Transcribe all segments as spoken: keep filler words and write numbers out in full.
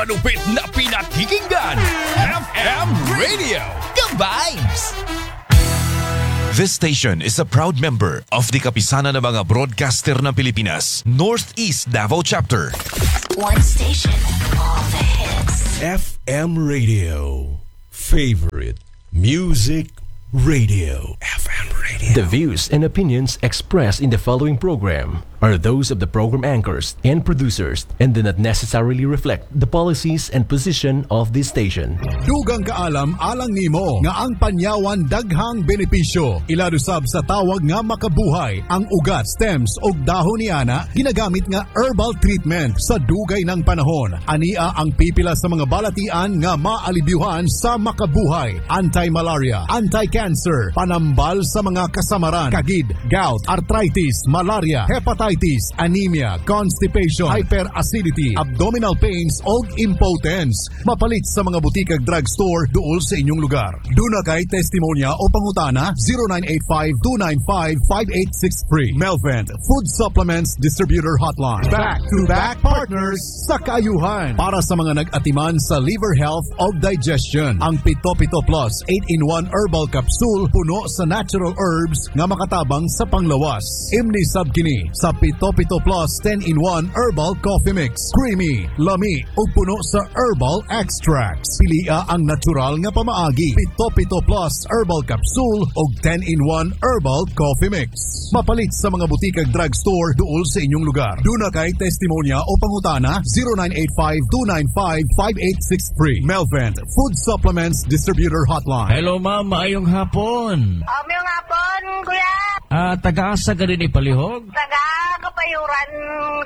Malupit na pinakikinggan. F M Radio. The Vibes. This station is a proud member of the Kapisanan ng mga Broadcaster ng Pilipinas, Northeast Davao Chapter. One station, all the hits. F M Radio. Favorite Music Radio. F M Radio. The views and opinions expressed in the following program are those of the program anchors and producers and do not necessarily reflect the policies and position of this station. Dugang kaalam alang nimo nga ang panyawan daghang benepisyo. Ilado sab sa tawag nga makabuhay. Ang ugat, stems ug dahon ni ana ginagamit nga herbal treatment sa dugay ng panahon. Ania ang pipila sa mga balatian nga maalibyuhan sa makabuhay. Anti-malaria, anti-cancer, panambal sa mga kasamaran, kagid, gout, arthritis, malaria, hepatitis, anemia, constipation, hyperacidity, abdominal pains o impotence. Mapalit sa mga butikag drugstore duol sa inyong lugar. Duna kay testimonya o pangutana, zero nine eight five, two nine five, five eight six three. Melvent Food Supplements Distributor Hotline. Back to back partners sa kaayuhan. Para sa mga nag-atiman sa liver health o digestion. Ang Pito Pito Plus eight in one Herbal Capsule puno sa natural herbs nga makatabang sa panglawas. Imni sab kini sa Pito Pito Plus ten in one Herbal Coffee Mix. Creamy, lami ug puno sa herbal extracts. Pilia ang natural nga pamaagi. Pito Pito Plus Herbal Capsule ug ten in one Herbal Coffee Mix. Mapalit sa mga butikag drugstore duol sa inyong lugar. Duna kay testimonya o pangutana, zero nine eight five, two nine five, five eight six three. Melvent Food Supplements Distributor Hotline. Hello, ma'am, maayong hapon. Maayong hapon, kuya. Ah, taga-asa ka din palihog? Taga Kapayuran,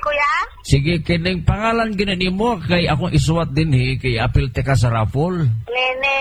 kuya. Sige, kining pangalan gina nimo kay akong isuwat dinhi kay apil ka sa raffle. Nene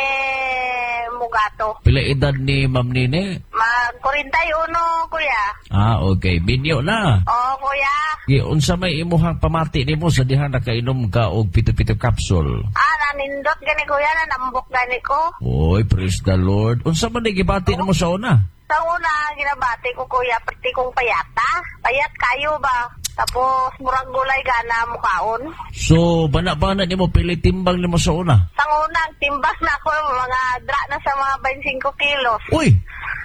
Mugato. Pila edad ni Ma'am Nene? Mag forty-one, kuya. Ah, okay. Minyo na. Oo, kuya. Sige, unsa may imuhang pamati nimo sa diha nakainom ka og pito-pito capsule? Ah, nanindot gani, kuya, nanambok gani ko. Oy, praise the Lord. Unsa man ni gibati nimo sa una? Sa una, ginabati ko, kuya, pati kong payata. Payat kayo ba? Tapos, murag gulay gana mukaon. So, bana-bana nimo pili timbang nimo sa una? Sa una, ang timbang na ako, mga dra na sa mga twenty-five kilos. Uy,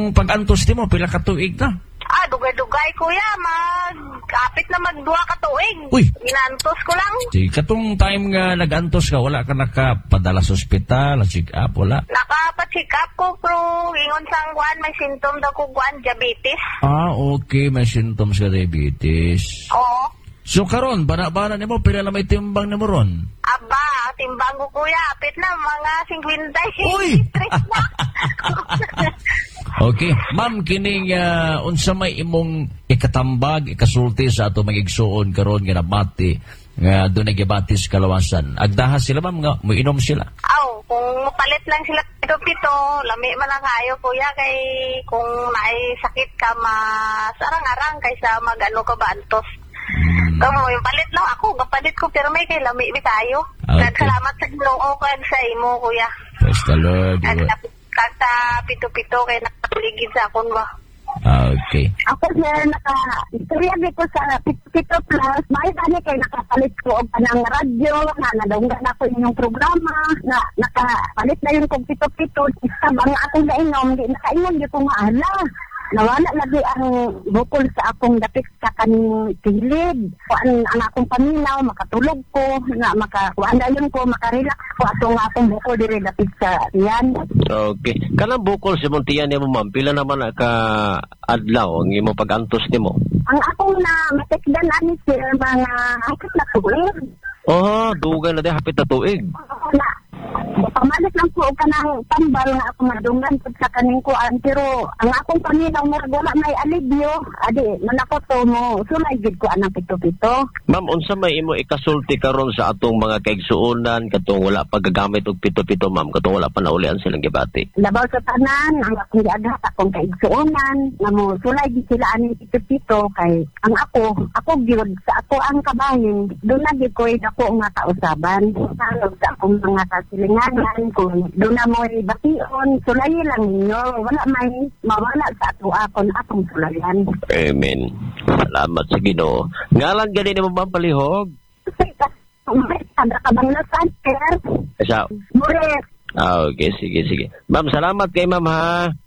ang pag-antos nimo pila ka tuig na? Ah, dugay-dugay, kuya. Mag, kapit na magduha ka tuig. Uy. Ginantos ko lang. Sige, katong time nga nag-antos ka, wala ka nakapadala sa ospital, check up, wala? Nakapa-check up ko, pero ingon sang kuan, may symptom daw ko kuan, diabetes. Ah, okay, may symptoms ka diabetes. Oo. So karon, bana-bana nimo pila na may timbang nimo ron? Aba, timbang ko, kuya, apit na mga fifty-three Uy! na. Okay, ma'am, kining uh, unsa may imong ikatambag, ikasulti sa ato mga igsuon karon nga nabati nga dunay gibati sa kalawasan? Agdaha sila, ma'am, nga moinom sila. Aw, kung mapalit lang sila pito-pito, lami man lang kayo, kuya, kay kung naay sakit ka, mas arang-arang kaysa mag-ano ka ba, antos. Hmm. Kamo, yung palit lang ako, kapalit ko, pero may kay lami mi kayo. Okay. Kag salamat sa Ginoo kag sa imo, kuya. Praise the Lord. Kag kag sa pito-pito kay nakaligid sa akon ba. Ah, okay. Ako, sir, naka, istorya ko sa Pito Plus, may gani kay nakapalit ko og kanang radyo, na nadunggan ako inyong programa, na nakapalit na yun kog pito-pito, sabang akong nainom, di nakainom di ko nga ala. Nawala lagi ang bukol sa akong dapit sa kaning kilid. Kuan ang akong paminaw, makatulog ko, na maka kuan dayon ko, makarelax ko atong akong bukol diri dapit sa tiyan. Okay. Kanang bukol sa imong tiyan nimo, ma'am, pila naman na ka adlaw ang imong pag-antos nimo? Ang akong na matikdan ani, sir, mga hapit na tuig. Oh, dugay na di hapit na tuig. Oo, na pamalit lang ko og kanang tambal nga ako madunggan pud sa kaning kuan, pero ang akong paminaw murag wala may alibyo adi man ako to mo sulay gid ko anang pito-pito. Ma'am, unsa may imo ikasulti karon sa atong mga kaigsuonan katong wala pa gagamit og pito-pito, ma'am, katong wala pa naulian silang gibati? Labaw sa tanan, ang akong giaghat akong kaigsuonan nga mo sulay gid sila aning pito-pito kay ang ako ako gyud sa ako ang kabahin doon na gyud ko'y dako nga kausaban. Sa sa akong mga kasilinganan, kung doon na mo'y bation, sulayi lang ninyo, wala may mawala sa ato akon akong sulayan. Amen. Salamat sa Ginoo. Ngalan gani nimo, ma'am, palihog? Taga Kabanglasan, sir. Sa Mures. Ah, okay, sige, sige. Ma'am, salamat kay ma'am ha.